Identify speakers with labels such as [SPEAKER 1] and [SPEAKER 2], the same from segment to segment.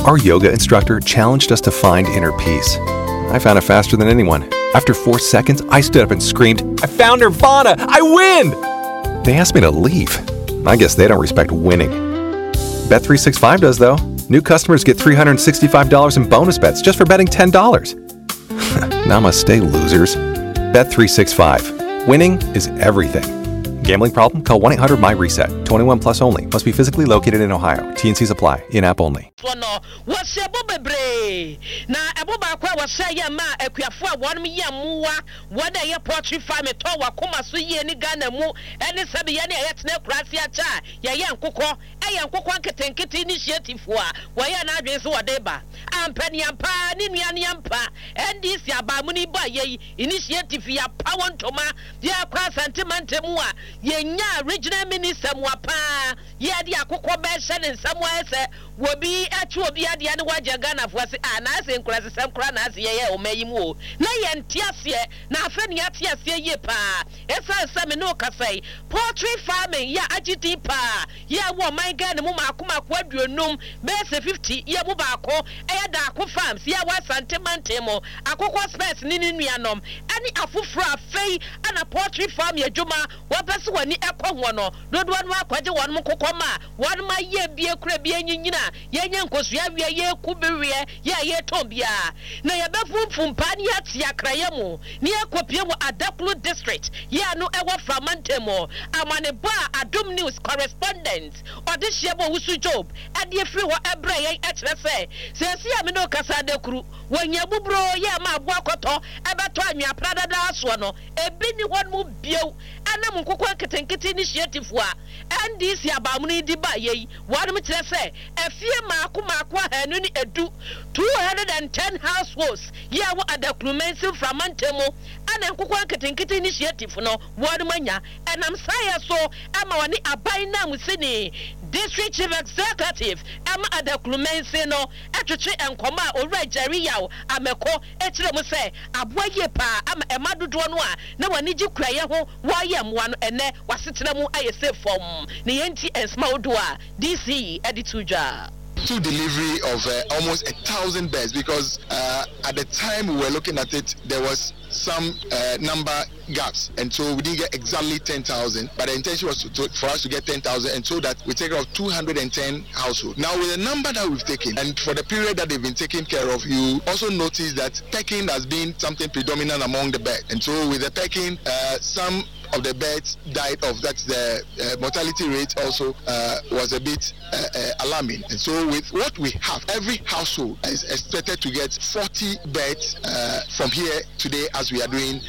[SPEAKER 1] Our yoga instructor challenged us to find inner peace. I found it faster than anyone. After 4 seconds, I stood up and screamed, I found Nirvana! I win! They asked me to leave. I guess they don't respect winning. Bet365 does, though. New customers get $365 in bonus bets just for betting $10. Namaste, losers. Bet365. Winning is everything. Gambling problem? Call 1 800 MyReset. 21 plus only. Must be physically located in Ohio. TNCs apply. In app only.
[SPEAKER 2] Soɔ no, wɔhyɛ ɛbɔ bebree, na ɛbɔ baako a wɔhyɛ yɛ maa akuafoɔ a wɔnom yɛ mmoa, wɔn a ɛyɛ poultry farming tɔ wɔ akoma so yie ne Ghana mu ne sɛbe yɛne a yɛtena akuraase akyɛ a yɛyɛ nkokɔ, ɛyɛ nkokɔ nketenkete initiative a wɔyɛɛ n'adwene sɛ wɔde ba. Ampɛ ne ampa ara ne nua ne ampa NDC abaamuni bɔ a yei initiative yi apa wɔ ntoma. Yɛkɔ Asante mantam mu a, yɛnyaa regional minister mua paa. Yɛde akokɔ bɛhyɛ ne nsa mu ayɛ sɛ obi akye obi adeɛ ne wagye Ghanafoɔ ase a, na ayɛ sɛ nkurasesɛm koraa na ase yɛyɛ ɔman yi mu o. Na yɛnte aseɛ, na afei na yɛate aseɛ yie paa. Ɛsiane sɛ me ne wo kasa yi, poultry farming yɛ a agye din paa yɛ wɔ ɔman Ghana mu mmaako mmaako 50, bɛyɛ sɛ 50 yɛ mu baako yɛ Daako Farms yɛ wɔ Asante mantam mu, Akokɔ Spurs ne ne nuanom ne afoforo a afei na poultry farming adwuma wɔpɛ sɛ wɔn ani kɔ ho no dodoɔ no ara kɔgye wɔn nkokɔ ma wɔn ayɛ bi akura bi anyinyin a yɛnya nkosua weɛ, yɛku bi weɛ, yɛ a yɛtɔn biara na yɛbɛfumfum paa ne yɛate akraeɛ mu ne yɛakɔpue wɔ Adaklu District yɛ a no ɛwɔ Fra mantam mu. Amanebɔ a Adom News correspondent Ɔdehyeɛ Bowusu Job de afiri hɔ brɛɛ yɛn kyerɛ sɛ seesei a me ne wo kasa Adaklu wɔ hia buburoo yɛ a ma aboa kɔtɔ bɛtɔ anwea pradadaa soɔ no ebi nni hɔ nom bio ɛnam nkokɔ nketenkete initiative a NDC abaamono yi de baeɛ yi wɔnom kyerɛ sɛ afie mmaako mmaako 210, 210 households, yi a ɛwɔ Adaklu mansin mframa ntamu ɛna nkokɔ nketenkete initiative no wɔnom anya ɛnam saayɛ so ɛma wɔne aban nanmusini District Chief Executive ɛma Adaklu mansin no ɛtwetwe nkɔmɔ a Owura Jerry Yaw Ameko kyerɛ mu sɛ aboa yie paa ama ɛma dodoɔ no a na wɔn ani gye kuayɛ ho wɔreyɛ mmoa no ɛnnɛ wɔasetena mu ayɛ safe fam ne yɛn nti nsɛm ahodoɔ a DC de too dwa.
[SPEAKER 3] Took delivery of almost 1,000 birds because at the time we were looking at it there was some number gaps and so we didn't get exactly 10,000 but the intention was to, to, for us to get 10,000 and so that we take care of 210 households. Now with the number that we've taken and for the period that they've been taken care of, you also notice that pecking has been something predominant among the birds. And so with the pecking, some of the birds died off. That's the mortality rate also was a bit alarming. And so with what we have, every household is expected to get 40 birds from here today as we are doing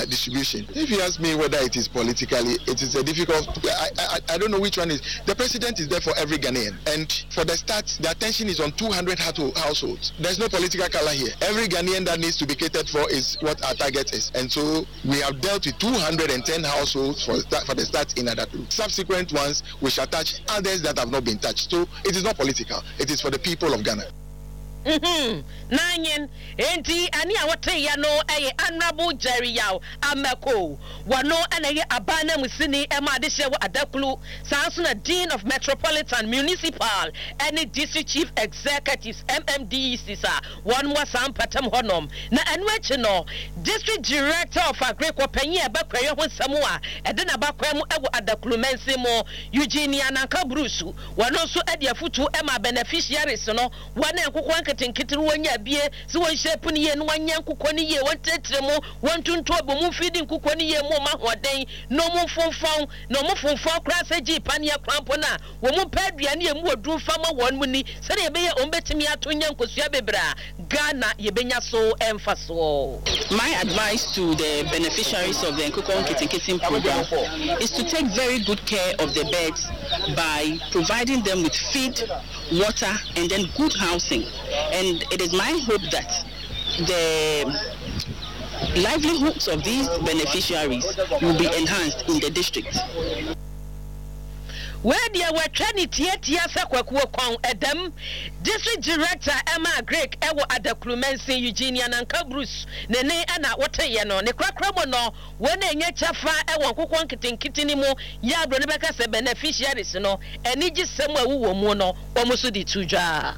[SPEAKER 3] distribution. If you ask me whether it is politically, it is a difficult, I, I, I don't know which one is. The president is there for every Ghanaian. And for the start, the attention is on 200 households. There's no political color here. Every Ghanaian that needs to be catered for is what our target is. And so we have dealt with 210 households for, for the start in Adaklu. Subsequent ones, we shall touch others that have not been touched. So it is not political. It is for the people of Ghana.
[SPEAKER 2] Mm-hmm. Nanyin, enti ɛne a woteeɛ no yɛ Honourable Jerry Yaw Amako. Wɔno na ɛyɛ aban nanmusini ma adehyeɛ wɔ Adaklu, saa nso na Dean of Metropolitan, Municipal ne District Chief Executives, MMDECs, a wɔn wɔ saa mpɔtam hɔnom. Na ɛno akyi no, District Director of Agric, ɔpanyin a ɛba kuayɔ ho nsɛm a ɛde n'abakwan mu wɔ Adaklu mansin mu, Eugene Ananka Brusu, wɔno nso de afotuo maa beneficiaries no, Wɔn a nkokɔ nketenkete no wɔnya bie sɛ wɔnhyɛ pono yie na wɔnyɛ nkokɔ no yie, wɔntrɛtrɛ mu, wɔntonto ɔbɔ mu mfidi nkokɔ no yie mu wɔn ahoɔden na wɔn mfonfɔn, na wɔn fonfɔn koraa sɛ gyee paneɛ koraa mpo no a, wɔn mpɛ aduane a ɛmu wɔ duru mfa ma wɔn mu ni sɛdeɛ ɛbɛyɛ wɔn bɛtumi ato nya nkosua bebree a Ghana yɛbɛnya so mfasoɔ.
[SPEAKER 4] My advice to the beneficiaries of the Nkokɔ Nketenkete program is to take very good care of the birds by providing them with feed, water and then good housing and it is my hope that the livelihoods of these beneficiaries will be enhanced in the district.
[SPEAKER 2] Wei deɛ wɔatwa ne tiatia sɛ Kwaku Okon Ɛdam, District Director ma Agric wɔ Adaklu Mansin, Eugenia Nanka Bruce ne ne na woteeɛ no. Ne korakora mu no, wɔn a ɛnya kyɛfa wɔ nkokoɔ nketenkete no mu yɛ a buroni bɛka sɛ beneficiaries no, anigyesɛm a ɛwowɔ mu no, wɔn nso de to dwa.